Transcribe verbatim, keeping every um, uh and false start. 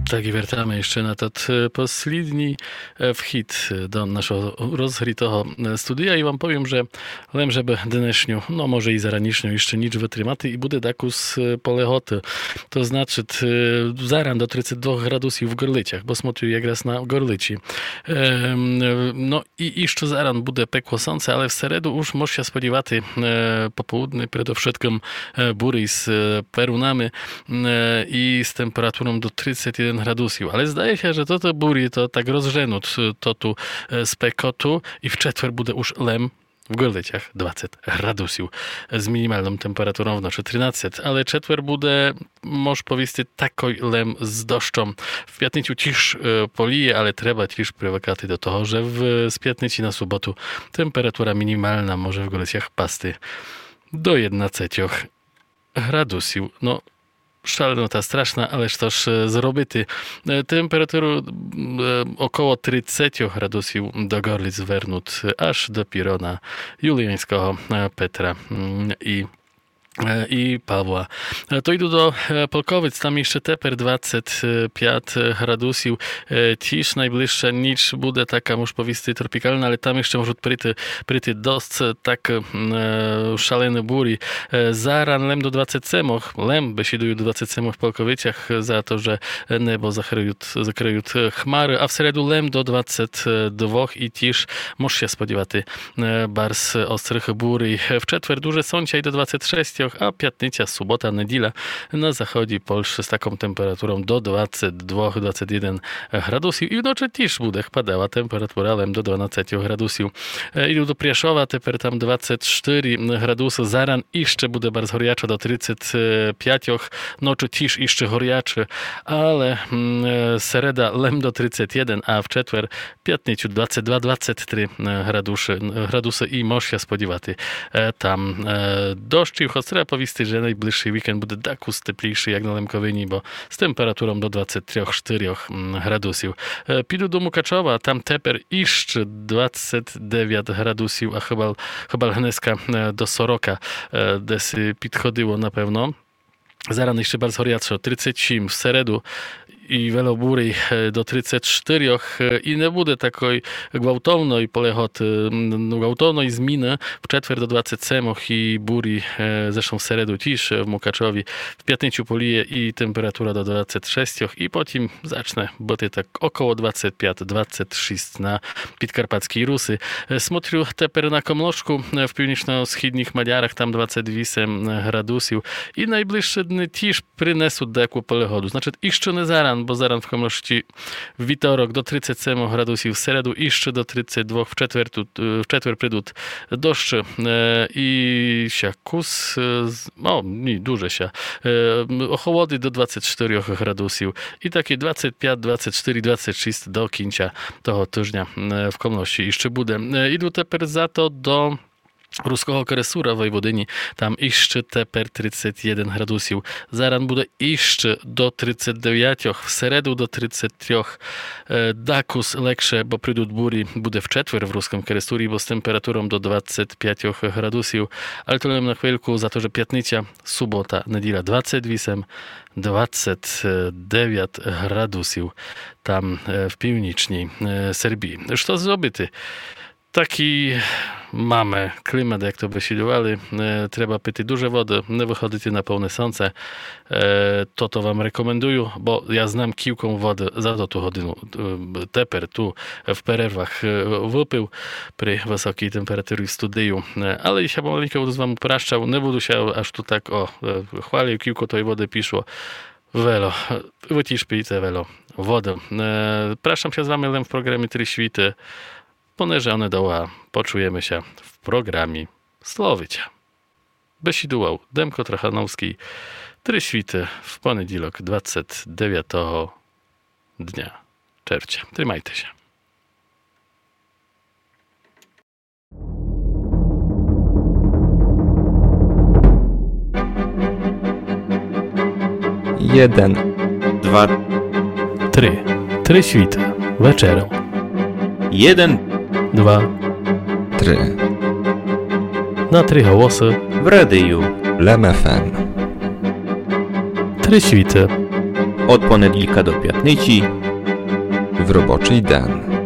Так і вертаме іщы на тот, е, послідній, е, вхід, е, до нашого розгрітого, е, студія. І вам повім, же лем же бы днешню, но, може і заранішню, іщы ніч вытримати, і буде дакус, е, полеготы. То значыт, е, заран до тридцет двох градусів в Горлицях, бо смотрю якраз на Горлиці. Ем, е, но, і, і што заран буде пекло сонце, але в середу уж мож ся сподівати, е, пополудне предовшыткым, е, бурі з, е, перунами, е, і з температуром до тридцет єден градусів. Але здає ся, же тоты бурі то так розженут, е, тоту, е, спекоту і в четвер буде уж лем в Горлицях двадцет градусів з мінімалным температуром вночы тринадцет. Але четвер буде, мож повісти, такой лем з дощом. В пятницю тіж, е, поліє, але треба тіж привыкати до того, же в, з пятниці на суботу температура мінімална може в Горлицях пасти до єднадцетьох градусів. Но, шаленота страшна, але што ж, е, зробити? Е, температуру, м, е, около тридцетьох градусів до Горлиць вернут, е, аж допіро на Юліяньского, е, Петра, м, і е, і Павла. Е, то іду до, е, Полковиць, там іщы тепер двадцет пять градусів. Е, тіж найближша ніч буде така, мож повісти, тропікална, але там іщы можут прийти, прийти досц, е, так, м, е, шалены бурі. Е, заран лем до двадцет семох, лем, бесідую, до двадцет семох в Полковицях за то, же небо закрыют, закрыют, е, хмары, а в середу лем до двадцет двох і тіж мож ся сподівати е, барз острых бурі. В четвер дуже сонця і до двадцет шестьох, а пятниця, субота, неділя на заході Польщы з таком температуром до двадцет двох, двадцет єден градусів. І вночы тіж буде хпадала температура лем до дванадцетьох градусів. Е, іду до Пряшова, тепер там двадцет штыри градусы. Заран іщы буде барз горячо до тридцет пятьох, ночы тіж іщы горячо, але, м, е, середа лем до тридцет єден, а в четвер пятницю двадцет два, двадцет три, е, градусы, градусы і мож ся сподівати, е, там, е, дощів, хоц треба повісти, же найближшый вікенд буде дакус теплійшый, як на Лемковині, бо з температуром до двадцет трьох, штырьох, м, градусів. Е, піду до Мукачова, там тепер іщы двадцет девят градусів, а хыба, хыба гнеска, е, до сорока, е, десь підходило, напевно. Заран іщы барз горячо, тридцет сім в середу і вело бурі, е, до тридцет штырьох, е, і не буде такой гвалтовной полеготы, м, гвалтовной зміны. В четвер до двадцет семох і бурі, е, зрештом в середу тіж, е, в Мукачові. В пятницю поліє і температура до двадцет шестьох, і потім зачне быти так около двадцет пять, двадцет шість на Підкарпатскій Руси. Е, смотрю тепер на Комлошку, е, в північно-східніх Мадярах, там двадцет вісем градусів. І найближшы дни тіж принесут деяку полегоду. Значыт, іщы не заран, бо заран в Комлошці вівторок до тридцет семох градусів, в середу іщы до тридцет двох, в четвер ту, е, в четвер прийдут дощы, е, і ся кус, е, з-, о, ні, дуже ся, е, м, охолодит до двадцет штырьох градусів. І такі двадцет пять, двадцет штыри, двадцет шість до кінця того тыжня, е, в Комлошці іщы буде. Е, іду тепер за то до Руского Керестура в Войводині. Там іщы тепер тридцет єден градусів. Заран буде іщы до тридцет девятьох, в середу до тридцет трьох. Е, дакус легше, бо прийдут бурі, буде в четвер в Рускым Керестурі, бо з температуром до двадцет пятьох градусів. Але то лем на хвильку, за то, же пятниця, субота, неділя двадцет вісем, двадцет девят градусів там, е, в північній, е, Сербії. Што зробити? Такій маме клімат, як то бесідували. Е, треба пити дуже воды, не выходити на повне сонце. Е, тото вам рекомендую, бо я знам кілько воды за тоту годину, е, тепер ту в перервах, е, выпив при высокій температурі в студію. Е, але я ся помаленьку буду з вами прощав, не буду ся аж ту так, о, е, хвалив, кілько той воды пішло. Вело, е, вы тіж пийте вело воды. Е, прощам ся з вами лем в програмі Три світы. Понеже оне довга, почуєме ся в програмі Словиця. Бесідував Демко Трохановскій. Три світы в понеділок, двадцет девятого дня червця. Тримайте ся. Єден. Два. Три. Три світы. Вечером. Єден. Два. Три. На три голосы. В радію. Лем ФМ. Три світы. Од понедїлка до пятниці. В робочый ден.